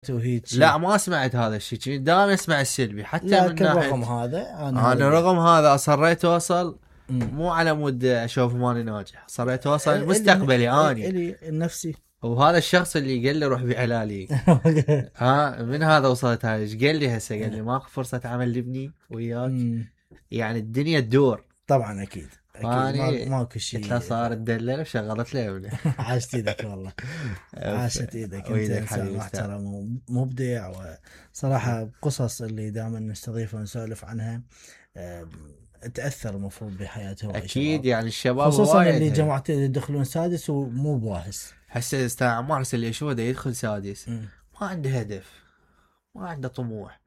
وهيك. لا ما سمعت هذا الشيء، دائما اسمع السلبي حتى لا من رغم هذا انا رغم هذا اصريت اوصل مو على مود اشوف ماني ناجح، اصريت اوصل مستقبلي اني الي النفسي. وهذا الشخص اللي قال لي روح بعلالي من هذا وصلت هاي. ايش قال لي هسه؟ قال لي ماكو فرصه عمل لبني وياك يعني الدنيا تدور. طبعا اكيد ماكو شيء. قلت له صار تدلل وشغلت له ابنه. عاشت ايدك والله. عاشت ايدك، انت انسان محترم ومبدع، وصراحه قصص اللي دائما نستضيفها ونسولف عنها تاثر المفروض بحياتهم اكيد. يعني الشباب خصوصا اللي جماعتين يدخلون سادس ومو بواهس. هسه استاذ عمار اللي يشوفه ده يدخل سادس ما عنده هدف، ما عنده طموح،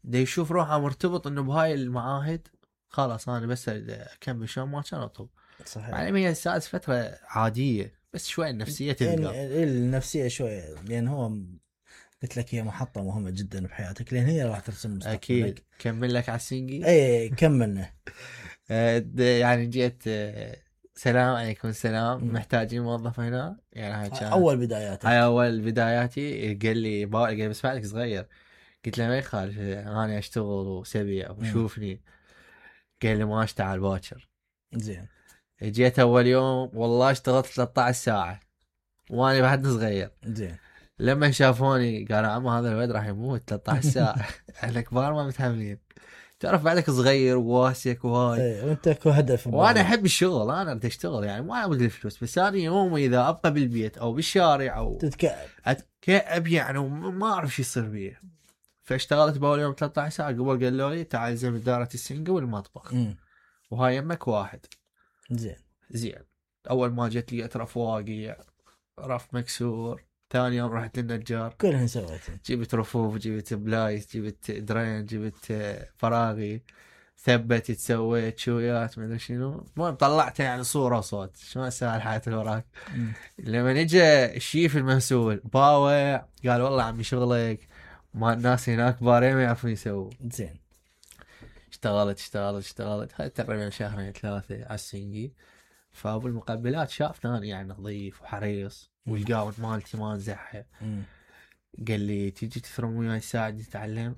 ده يشوف روحه مرتبط انه بهاي المعاهد خلاص انا بس اكمل شلون ما كان اطلب. صحيح. يعني هي السادس فتره عاديه بس شوي النفسيه تبقى يعني النفسيه شويه، لان هو قلت لك هي محطه مهمه جدا بحياتك، لان هي راح ترسم مستقبلك. اكيد. كمل لك على السنجي. اي كملنا. يعني جيت سلام عليكم السلام محتاجين موظف هنا. يعني هاي اول بداياتك. هاي اول بداياتي. قال لي بس بعدك صغير. قلت له ما يخالف انا اشتغل وسبيع وشوفني. قال لي ما اشتغل باكر. زين. جيت اول يوم والله اشتغلت 13 ساعه وانا بعد صغير. زين. لما شافوني قالوا عم هذا الولد راح يموت 13 ساعه. احنا كبار ما متحملين. تعرف بعدك صغير وواسك وهاي. ايه وانت اكو هدف. وانا احب الشغل، انا اريد اشتغل يعني ما ابغى الفلوس. بس انا يوم اذا ابقى بالبيت او بالشارع او اتكئب يعني وما اعرف شو يصير بيه. فاشتغلت باول يوم 13 ساعه. قبل قالوا لي تعال زين اداره السنقه والمطبخ وهاي يمك واحد. زين. اول ما جت لي رف واقيع، رف مكسور. ثاني يوم رحت للنجار كلهن سويته. جبت رفوف، جبت بلايس، جبت درين، جبت فراغي، ثبت، سويت شويات ما ادري شنو. المهم طلعت يعني صوره وصوت. شو اسوي الحياه اللي وراك. لما نجى الشيف المسؤول باوع قال والله عمي شغلك ما الناس هناك بارين ما يعرفون يسووا. زين. اشتغلت هاي تقريبا شهرين ثلاثه على السنجي. فابو المقبلات شافني يعني نظيف وحريص والقاود مالتي ما نزحها. قال لي تيجي تثرم وياي ساعد تتعلم.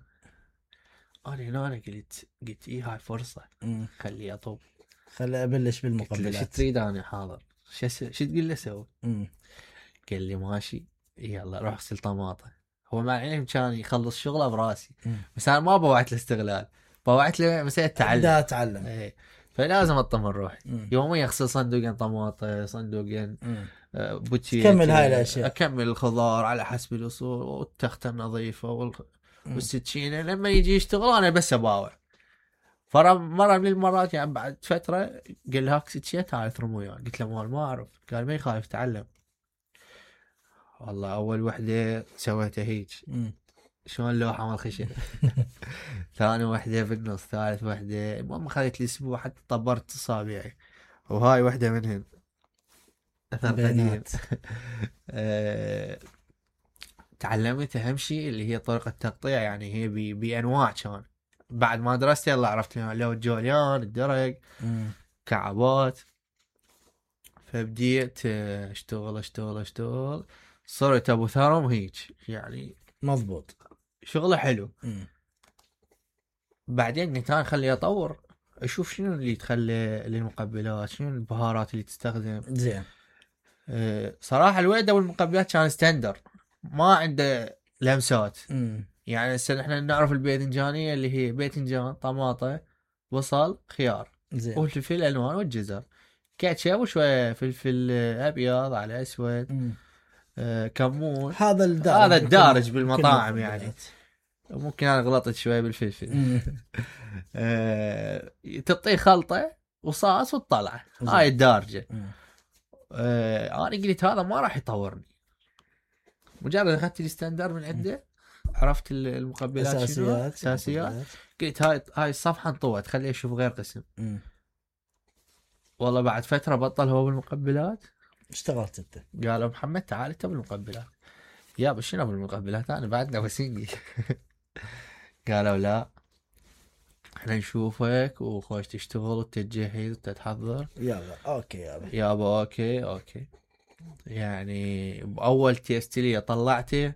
انا قلت ايه هاي فرصه خلي اطب، خلي ابلش بالمقبلات. شو تريد؟ انا حاضر. شو تقول له سوي؟ قال لي ماشي يلا روح اغسل طماطه. هو مع العلم كان يخلص شغله براسي بس انا ما بوعت له استغلال، بوعت له مسألة تعلم. ايه. فلازم اطمن روحي يوميا اغسل صندوقين طماطه، صندوقين بوتشي، كمل هاي الاشياء، اكمل الخضار على حسب الاصول والتخته نظيفه والسكينه. لما يجي يشتغل انا بس اباوع. مرة من المرات يعني بعد فترة قال لي هاك سكينه تعال ثرم وياي. قلت له ما اعرف. قال ما يخالف تعلم. والله اول وحده سويتها هيك شلون لوحه مال خشب. ثاني وحده بالنص، ثالث وحده. المهم خذت لي اسبوع حتى طبرت اصابعي وهاي وحده منهن اثر قديم. تعلمت اهم شيء اللي هي طريقه التقطيع. يعني هي بانواع. كان بعد ما درست يلا عرفت لو الجوليان، الدرج، كعبات. فبديت اشتغل صرت ابو ثرم هيك يعني مضبوط، شغله حلو. بعدين قلت انا خلي اطور اشوف شنو اللي تخلي للمقبلات، شنو البهارات اللي تستخدم. زين. صراحه الويدة والمقبلات كان ستاندر ما عنده لمسات. يعني هسه احنا نعرف الباذنجانيه اللي هي باذنجان، طماطه، بصل، خيار، والفلفل الالوان والجزر، كاتشب وشويه فلفل ابيض على اسود، كمون. هذا الدارج بالمطاعم يعني. ممكن انا غلطت شويه بالفلفل. تعطيه خلطه وصاص وتطلع. هاي الدارجه. انا قلت هذا ما راح يطورني. مجرد اخذت الستاندر من عنده عرفت المقبلات اساسيات. قلت هاي الصفحه انطوت خليه اشوف غير قسم. والله بعد فتره بطل هو بالمقبلات. اشتغلت انت؟ قالوا محمد تعال انت بالمقبلات. يا شنو بالمقبلات انا بعدنا وسينجي. قالوا لا احنا نشوفك وخوش تشتغل وتتجهز وتتحضر. يلا اوكي يابا اوكي. يعني باول تيست لي طلعته